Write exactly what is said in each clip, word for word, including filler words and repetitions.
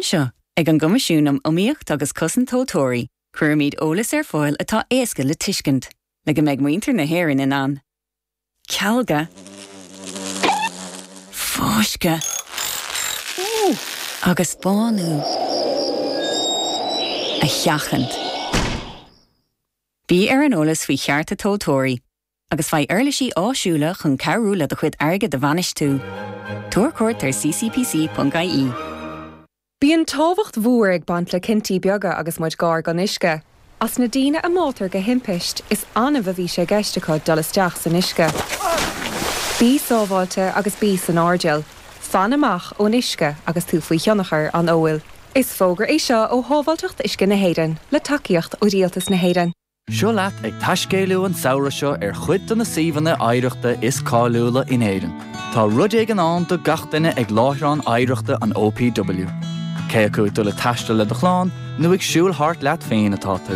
Anseo, ag an gCoimisiún um Iomaíocht agus Cosaint Tomhaltóirí, cuirimid eolas ar fáil atá éasca le tuiscint, le go mbeidh muintir na hÉireann in ann. Cealga fáisceadh agus bánú a sheachaint. Bí ar an eolas faoi chearta tomhaltóirí, agus faigh uirlisí áisiúla chun cabhrú le do chuid airgid a bhainistiú. Tabhair cuairt ar ccpc.ie. Bíonn tábhacht mhór ag baint le cinntí beaga agus muid gar don uisce. As na daoine a mbáitear de thimpiste is annamh a bhí sé i gceist acu dul isteach san uisce. Bí sábháilte agus bí san airdeall, Fan amach ón uisce agus tú faoi thionchar an óil. Is fógra é seo ó Shábháilteacht Uisce na hÉireann le tacaíocht ó Rialtas na hÉireann. Seo leat ag taiscéaladh an samhradh seo ar chuid de na suíomhanna oidhreachta is cáiliúla in Éirinn. Tá rud éigin ann do gach duine ag láithreán oidhreachta an OPW. Cé acu ag dul ag taisteal le do chlann nó ag siúl thart leat féin atá tú.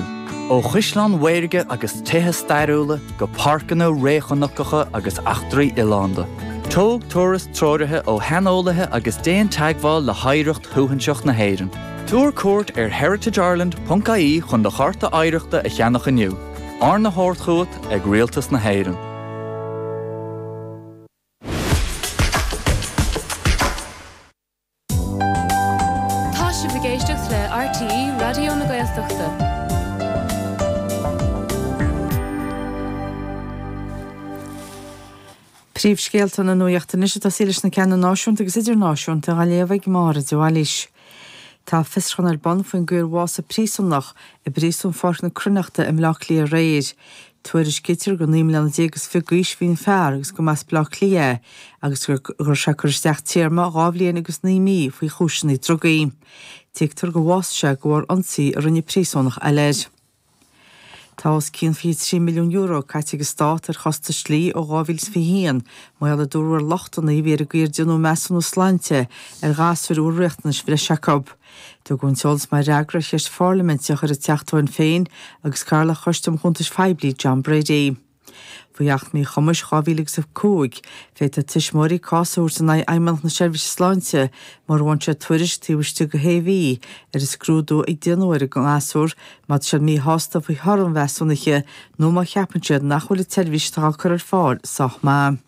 Ó chaisleáin mhaorga agus tithe stairiúla go páirceanna réchnocacha agus eachtraí oileánda. Tóg turas treoraithe ó shaineolaithe agus déan teagmháil le hoidhreacht shuaithinseach na hÉireann. Tabhair cuairt ar heritageireland.ie chun do chárta oidhreachta a cheannach inniu. Arna thabhairt chugat ag Rialtas na hÉireann. Tá sibh ag éisteacht le RTÉ Raidió na Gaeltachta. Príomhscéalta na nuachta anois ag tosaí leis na ceanna náisiúnta agus idirnáisiúnta á léamh ag Máire de Bhailís. Tá fiosrúchán ar bun faoin gcaoi ar bhásaigh príosúnach i bpríosún Pháirc na Cruithneachta i mBleá Cliath aréir. Tuairiscítear gur naoi mbliana déag is fiche d'aois a bhí an fear agus go mb'as Bleá Cliath é agus gur raibh sé ag cur isteach téarma dhá bhliain agus naoi mí faoi chúiseanna drugaí. Tuigtear gur bhásaigh sé de bharr ionsaí a rinne príosúnach eile air. Tá os cionn fiche trí milliún euro caite ag an Stát ar chostais dlí ó dhá mhíle is fiche haon, mar gheall a dúradh ar lochtanna a bhí ar an gcaoi ar déanadh measúnú sláinte ar ghasúir a bhfuil riachtanais bhreise acu. Tugadh an t-eolas mar fhreagra ar cheist pharlaiminte a chuir an Teachta ó Shinn Féin agus Cathaoirleach Choiste um Chuntais Phoiblí John Brady. Faoi Acht Míchumais dhá mhíle agus a cúig, féadfaidh tuismitheoirí cás a thabhairt in aghaidh Fheidhmeannacht na Seirbhíse Sláinte mura bhfaigheann siad tuairisc taobh istigh de shé mhí ar an scrúdú a déanadh ar an ngasúr má tá siad míshásta faoi thoradh an mheasúnaithe nó má cheapann siad nach bhfuil an tseirbhís atá á cur ar fáil sách maith.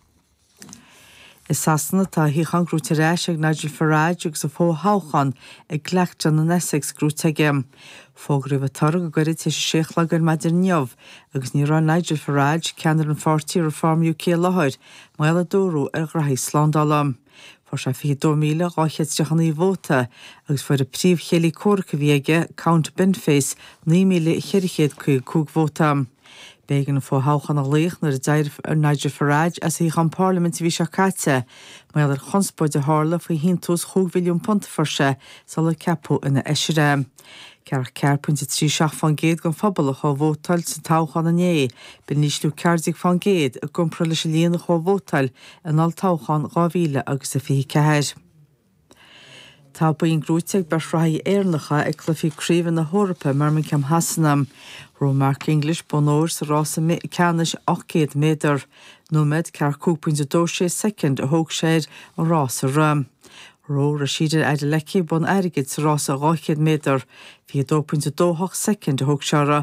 I Sasana tá a shuíochán gnóite ar ais ag Nigel Farage agus an fothoghchán i gClacton in Essex gnóite aige. Fógraíodh an toradh go gairid tar éis a sé a chlog ar maidin inniu agus ní raibh Nigel Farage, ceannaire an pháirtí Reform UK i láthair, mar gheall a dúradh ar ghraithí slándála. Fuair sé fiche dó míle dhá chéad tríocha naoi vóta agus fuair an príomhchéile comhraic a bhí aige, Count Binface, naoi míle cheithre chéad caoga cúig vóta. B'éigean an fothoghchán a ghlaoch nuair a d'éirigh Nigel Farage as a shuíochán parlaiminte an mhí seo caite mar gheall ar chonspóid a tharla faoi shíntiús chúig mhilliún punt a fuair sé sular ceapadh ina fheisire é. Ceathracha ceathair pointe trí seacht fán gcéad den phobal a chuaigh a vótáil sa toghchán inné, b'in ísliú ceathair déag fán gcéad i gcomparáid leis an líon a chuaigh a vótáil in olltoghchán dhá mhíle agus a fiche ceathair. Tá boinn gnóite ag beirt reathaithe Éireannacha ag Cluichí Craoibhe na hEorpa i mBirmingham Shasana. Ghnóthaigh Mark English bonn óir sa rása ceannais ocht gcéad méadar. Nóiméad, ceathracha cúig pointe dó sé soicind a thóg sé air an rás a rith. Ghnóthaigh Rhasidat Adeleke bonn airgid sa rása dhá chéad méadar. fiche dó pointe dó hocht soicind a thóg sé uirthi.